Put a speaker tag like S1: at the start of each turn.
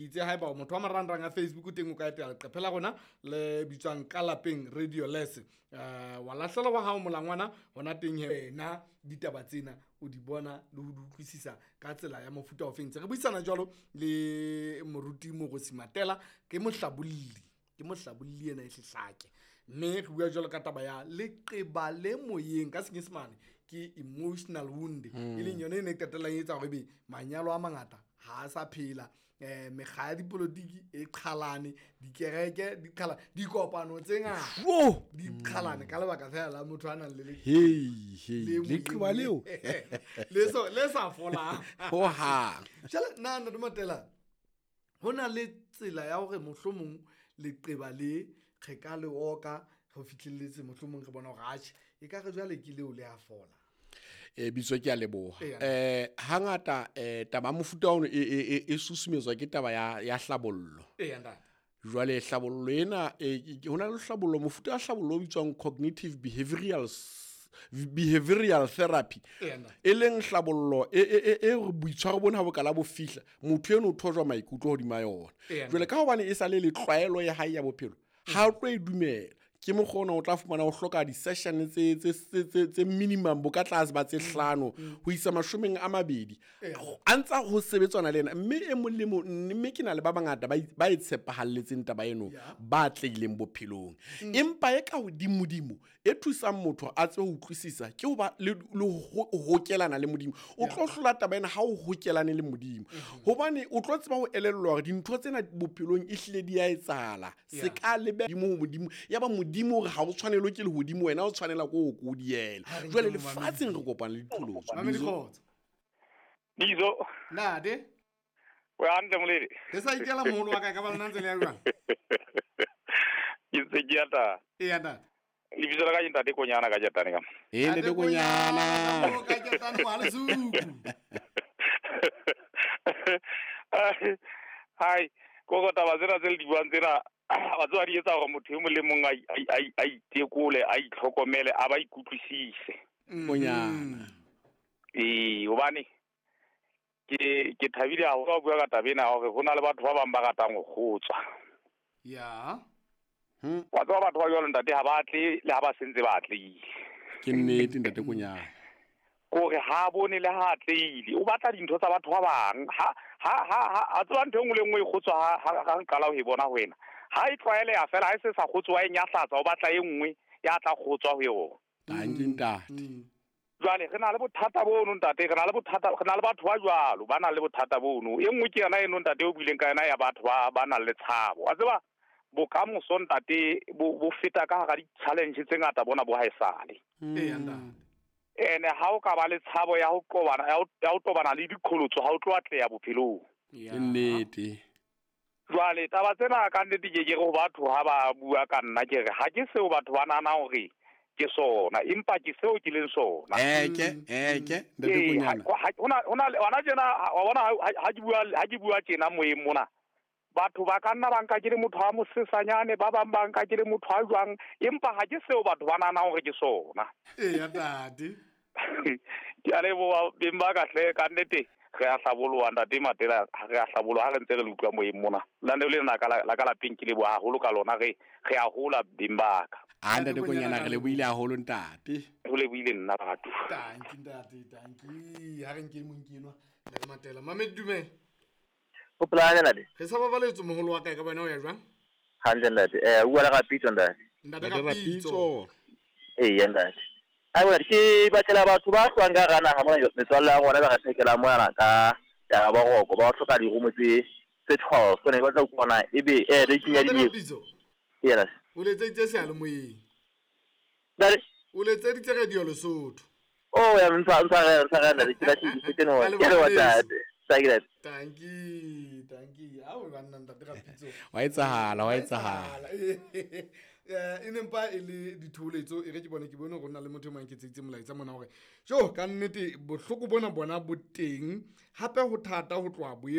S1: Itse haeba o motho wa marangrang a Facebook teng, o ka etela leqephe la rona le bitswang Ka Lapeng Radio Les, wa lahlela wa hao molangwana hona teng. He wena ditaba tsena o di bona le ho di utlwisisa ka tsela ya mofuta ofeng? Ntse re buisana jwalo le moruti Moorosi Matela, ke mohlabolli, ke mohlabolli ena e hlehlake, mme re bua jwalo ka taba ya leqeba le moyeng, ka Senyesemane ke emotional wound, e leng yone e ne e qetellang e etsa hore ebe manyalo a mangata ha a sa phela, mekga ya dipolotiki e qhalane, dikereke di qhalane, dikopano tse ngata di qhalane ka lebaka fela la motho a nang le
S2: leqeba leo
S1: le sa folang
S2: hohang.
S1: Jwale nna, Ntate Matela, ho na le tsela ya hore mohlomong leqeba le re ka le oka re fihlelletse, mohlomong re bona hore atjhe, e ka re jwale ke leo le a fola?
S2: Bitso, ke a leboha. Hangata taba mofuta ono e susumetswa ke taba ya hlabollo.
S1: Ntate.
S2: Jwale hlabollo ena, ho na le hlabollo, mofuta wa hlabollo o bitswang cognitive behavioral therapy, e leng hlabollo e re boitshwaro bona ha bo kala bo fihla, motho eno o thojwa maikutlo hodima yona. Jwale ka hobane e sa le tlwaelo ya hae ya bophelo, ha o tlo e dumela, ke mokgwa ona o tla fumana o hloka di-session tse minimum bo ka tlase ba tse 5 ho isa 20, a ntsa ho sebetswana le ena. Mme e mong le mong, mme ke na le ba bangata ba e tshepahalletseng taba eno, ba atlehileng bophelong. Empa e ka hodimodimo e thusang motho a tsebe ho utlwisisa ke ho ba le ho hokelana le Modimo. O tlo hlola taba ena ha o hokelane le Modimo, hobane o tlo tseba ho elellwa hore dintho tsena bophelong e hlile di a etsahala. Se ka lebe Modimo ho Modimo, ya ba Modimo hore ha o tshwanelwe ke lehodimo, wena o tshwanela ke ho ko diela.
S1: Ha re nke
S2: Jwale
S1: momamedi.
S2: Lefatsheng re kopana le diqholotso.
S1: Mamedi.
S2: Bizo.
S1: Kgotso.
S3: Bizo.
S1: Nade.
S3: O hantle, moledi?
S1: Re sa ikela, moholo wa ka, ka ba lona ntse le ya jwang?
S3: Ke ntse ke ata.
S1: Eya, ntate.
S3: Lebitso la ka ke Ntate Konyana ka Jetane ka.
S2: Ee, Ntate Konyana.
S1: Mo ka Ketane mo Lesuku.
S3: Hai, ko go taba tsena tse le di buang tsena, wa tseba di etsa hore motho e mong le mong a itekole, a itlhokomele, a ba ikutlwisise.
S2: Konyana.
S3: Ee, hobane ke thabile haholo ha o bua ka taba ena hore ho na le batho ba bang ba ratang ho kgotswa. Wa tseba batho ba jwalo, ntate, ha ba atle le ha ba sentse ba atlehile.
S2: Ke nnete, Ntate Konyana.
S3: Kore ha bone le ha atlehile, o batla dintho tsa batho ba bang. Ha tseba ntho e nngwe le nngwe e kgotswa, ha re qala ho e bona ho wena. Ha e tlwaeleha fela, ha e se sa kgotswa, e nyahlatsa, o batla e nngwe ya tla kgotswa ho yona.
S2: Tanki, ntate.
S3: Jwale re na le bothata bono, ntate, re na le bothata, re na le batho ba jwalo ba nang le bothata bono. E nngwe ke yona eno, ntate, o buileng ka yona ya batho ba nang le tshabo. Wa tseba bokamoso, ntate, bo feta ka hara di-challenge tse ngata bona bo haesale.
S1: Eya, ntate.
S3: Ene ha o ka ba le tshabo ya ho qobana, ya ho tobana le diqholotso, ha o tlo atleha bophelong.
S2: Ke nnete.
S3: Jwale taba tsena ka nnete ke re ho batho ha ba bua ka nna, ke re ha ke seo batho ba nahanang hore ke sona, empa ke seo ke leng sona.
S2: Eke, eke, Ntate
S3: Ee,
S2: Konyana.
S3: ha, hona le, hona tjena, ha, wa bona, ha ke bua tjena moyeng mona, batho ba ka nna ba nka ke le motho wa mosesanyane, ba bang ba nka ke le motho wa jwang, empa ha ke seo batho ba nahanang hore ke sona.
S1: Eya, ntate.
S3: Ke a leboha, beng ba ka hle, ka nnete re a hlaboloha, Ntate Matela, re a hlaboloha ha re ntse re le utlwa moyeng mona. Lenaneo lena la ka lapeng ke leboha haholo ka lona, re a hola, beng ba ka.
S2: A Ntate Konyana, re lebohile haholo, ntate.
S3: Ho lebohile nna, batho.
S1: Tanki, ntate, tanki. Ha re nke mong ke enwa, Ntate Matela. Mamedi, dumela.
S4: O phela hantle, ntate?
S1: Re sa babaletswe, moholo wa ka, e ka bona o ya jwang?
S4: Hantle, ntate. O bua le Rapitso, ntate.
S1: Ntate
S2: Ntate
S1: Rapitso.
S2: Rapitso.
S4: Eya, ntate. Ai, bona, ke batlela batho ba hlwang ka hara naha mona, metswalle ya rona ba re thekelang mona ka ya boroko, ba hloka dirumo tse 12. Ke ne ke batla ho utlwa na ebe, le kenya
S1: Ntate
S4: di-
S1: Rapitso.
S4: Eya, ntate.
S1: O letseditse seyalemoyeng.
S4: Ntate.
S1: O letseditse Radio Lesotho.
S4: Oh, ya, ntshwarele, ntate, ke lahlehile, ke no,
S1: Ka
S4: ke leboha,
S1: leboha,
S4: ntate. Thank you, ntate.
S1: Tanki, tanki. Ao banna, Ntate Rapitso.
S2: Wa etsahala, wa etsahala.
S1: E ne mpa e le ditholetso, e re ke bone, ke bone hore ho na le motho e mang ke tseitse molaetsa mona hore jo ka nnete bohloko bona bona bo teng, hape ho thata ho tloha boemong.